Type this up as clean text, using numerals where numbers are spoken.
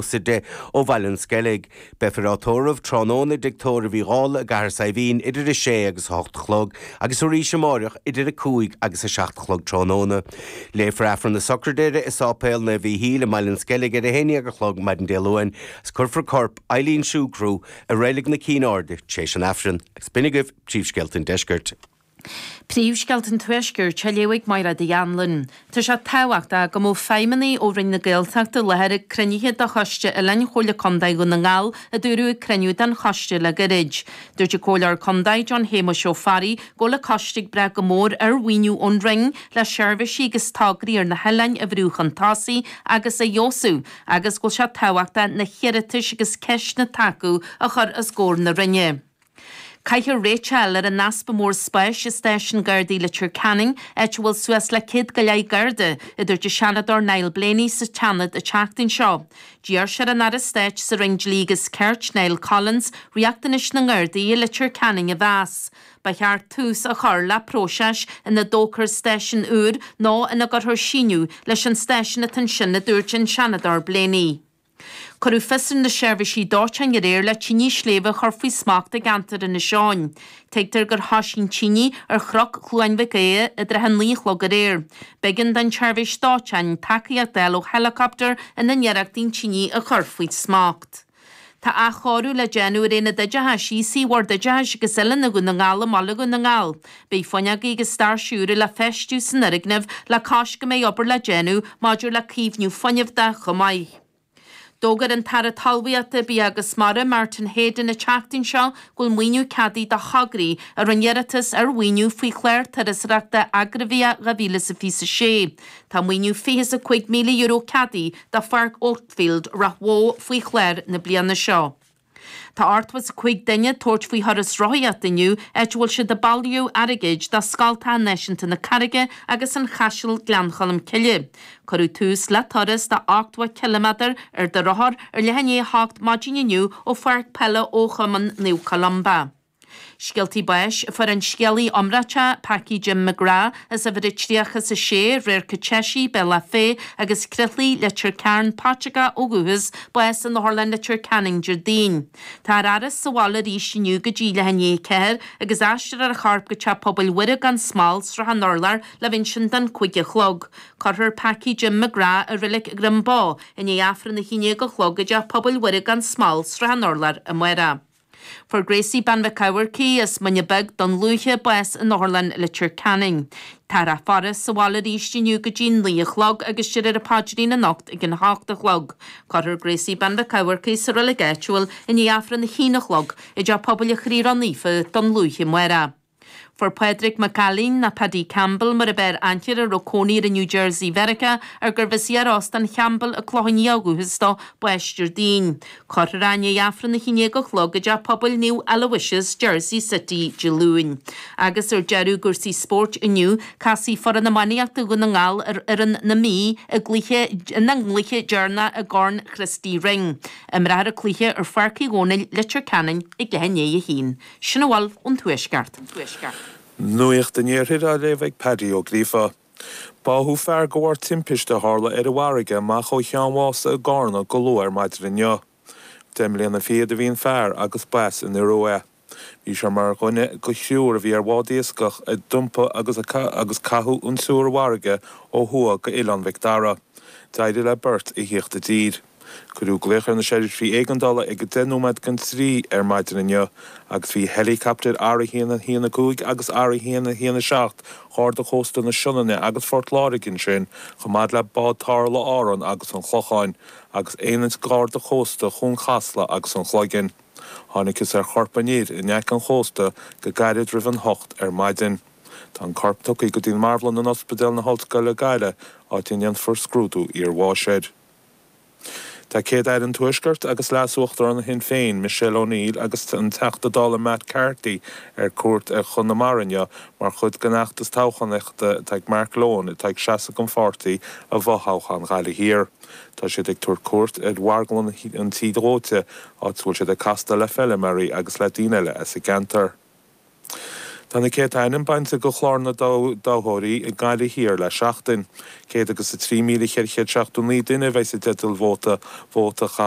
10 ó Bhaile an Sceilg. Beifear á tórramh tráthnóna i dTigh Tórraimh Uí Dhálaigh i gCathair Saidhbhín idir 6 agus 8 a chlog agus arís amáireach idir 5 agus 7 a chlog tráthnóna. Léifear Aifreann na Sochraide i Sáipéal Naomh Mhíchíl i mBaile an Sceilg ar 11 a chlog maidin Dé Luain agus cuirfear corp Eileen Sugrue i Reilig na Cinn Airde tar éis an Aifrinn. Agus b'in agaibh príomhscéalta an deiscirt. Príomhscéalta an Tuaiscirt á léamh ag Mairéad Uí Anluain. Tá sé tábhachtach go mbeadh feidhmeannaigh ó Roinn na Gaeltachta i láthair ag cruinnithe de Choiste Oileáin Chomhairle Contae Dhún na nGall, a dúradh ag cruinniú den choiste le gairid. Dúirt an Comhairleoir Contae John Shéamuis Ó Fearraigh go bhfuil an coiste ag brath go mór ar mhaoiniú ón Roinn le seirbhísí agus tograí ar na hoileáin a bhrú chun tosaigh agus a fheabhsú agus go bhfuil sé tábhachtach na hiarratais agus ceisteanna atá acu a chur os comhair na Roinne. Caithfear réiteach a fháil ar an easpa mór spáis i Stáisiún Gardaí Leitir Ceanainn, áit a bhfuil suas le 100 go leith Garda, a dúirt an Seanadóir Niall Blaney sa tSeanad an tseachtain seo. D'iarr sé ar an Aire Stáit sa Roinn Dlí agus Cirt, Niall Collins, riachtanais na nGardaí i Leitir Ceanainn a mheas. Ba cheart tús a chur le próiseas ina dtógfar stáisiún úr nó ina gcuirfear síneadh leis an stáisiún atá ansin, a dúirt an Seanadóir Blaney. Cuireadh fios ar na seirbhísí dóiteáin aréir le tine sléibhe a chur faoi smacht i gceantar Inis Eoghain. Tuigtear gur thoisigh an tine ar Chnoc Chluain Mhic Aodha i dtrátha a 9 a chlog aréir. B'éigean don tseirbhís dóiteáin tacaíocht a fháil ó heileacaptar ina n-iarrachtaí an tine a chur faoi smacht. Tá athchóiriú le déanamh ar Aonad Oideachais Aosaigh Bhord Oideachais agus Oiliúna Dhún na nGall i mbaile Dhún na nGall. Beidh fuinneogaí agus doirse úra le feistiú san fhoirgneamh le cois go mbeidh obair le déanamh maidir le caomhnú fuinnimh de chomh maith. D'fhógair an tAire Talmhaíochta, Bia agus Mara, Martin Heydon an tseachtain seo go bhfuil maoiniú ceadaithe do thograí a rinne iarratas ar mhaoiniú faoi chlár turasóireachta Agraibhia 2026. Tá maoiniú €25,000 ceadaithe do Pháirc Oatfield, Ráth Bhoth faoi chlár na bliana seo. Tá 85 duine ag tabhairt faoi thuras rothaíochta inniu, áit a bhfuil siad ag bailiú airgid do Scoltacha Náisiúnta na Carraige agus an Chaisil Gleann Cholm Cille. Cuireadh tús le turas de 80 ciliméadar ar do rothar ar leath i ndiaidh a hocht maidin inniu ó Pháirc Peile Chumann Naomh Columba. Scéaltaí báis, Fuair an scéalaí iomráiteach Packie Jim McGrath as uimhir a 36, Radharc an tSeisí, Bealach Féich agus Croithlí, Leitir Ceanainn, Paiteagó ó dhúchas, bás in Otharlann Leitir Ceanainn Déardaoin. Táthar á fhaire sa bhaile arís inniu go dtí leath i ndiaidh a ceathair agus aistreofar a chorp go Teach Pobail Mhuire gan Smál, Srath an Urláir le bheith ansin don 5 a chlog. Cuirfear Packie Jim McGrath i Reilig Dhroim Bó i ndiaidh Aifreann a 11 a chlog i dTeach Pobail Mhuire gan Smál, Srath an Urláir amárach. Fuair Gracie Bean Mhic Eamharcaigh as Muine Bheag, Dún Lúiche, bás in Otharlann Leitir Ceanainn. Táthar á faire sa bhaile arís inniu go dtí 9 a chlog agus déarfar an paidrín anocht ag an hocht a chlog. Cuirfear Gracie Bean Mhic Eamharcaigh sa reilig áitiúil i ndiaidh Aifreann a haon a chlog i dTeach Pobail an Chroí Ró-Naofa, Dún Lúiche amárach. Fuair Pádraig Mac Ailín, nó Paddy Campbell mar ab fhearr aithne air, a raibh cónaí air i New Jersey Mheiriceá, ar gurbh as iar-Óstán Champbell i gCloich Cheann Fhaola ó dhúchas dó, bás Déardaoin. Cuirfear é i ndiaidh Aifreann 11 a chlog i dTeach Pobail Naomh Aloysius, Jersey City, Dé Luain. Agus ar deireadh i gcúrsaí spóirt inniu, casfaidh foireann iománaíochta Dhún na nGall ar fhoireann na Mí i gcluiche ina gcluiche deireanach i gCorn Christy Ring. Imreofar an cluiche ar Pháirc Uí Dhónaill, Leitir Ceanainn ag leath i ndiaidh a haon. Sin a bhfuil ón Tuaisceart. Nuacht an Iarthair á léamh ag Paddy Ó Gríofa. Báthadh fear de bharr timpiste a tharla ar an bhfarraige amach ó Cheann Mhása i gCarna go luath ar maidin inniu. Deich mbliana fichead a bhí an fear agus b'as an Iorua é. Bhí sé mar dhuine de thriúr a bhí ar bhád iascaigh a d'iompaigh agus agus caitheadh an triúr i bhfarraige ó thuaidh go Oileán Mhic Dara. D'éirigh le beirt a thíocht i dtír. Cuireadh glaoch ar na seirbhísí éigeandála ag 10 nóiméad don trí ar maidin inniu agus bhí heileacaptair R1 1 5 agus R1 1 7 Gharda Cósta na Sionainne agus Phort Láirge ansin chomh maith le bád tarrthála Árann agus an Chlocháin agus aonaid Gharda Cósta Chuan Chasla agus an Chloiginn. Thángthas ar chorp an fhir in aice an chósta go gairid roimh an hocht ar maidin. Tá an corp tugtha go dtí an marbhlann in Ospidéal na hOllscoile Gaillimh áit a ndéanfar scrúdú iarbháis air. Tá Céad-Aire an Tuaiscirt agus Leas-Uachtarán Shinn Féin, Michelle O'Neill agus an Teachta Dála Matt Carthy ar cuairt ar Chonamara inniu mar chuid den fheachtas toghchánaíochta atá ag Mark Lohan atá ag seasamh don pháirtí i bhfothoghchán Ghaillimh Thiar. Tá siad ag tabhairt cuairt ar mharglann an Tí Dhóite áit a bhfuil siad ag castáil le feilméaraí agus le daoine eile as an gceantar. Tá na céadta ainm bainte de chlár na dtoghthóirí i nGaillimh Thiar le seachtain. 103,479 duine a bheidh i dteideal vóta vóta a chaitheamh.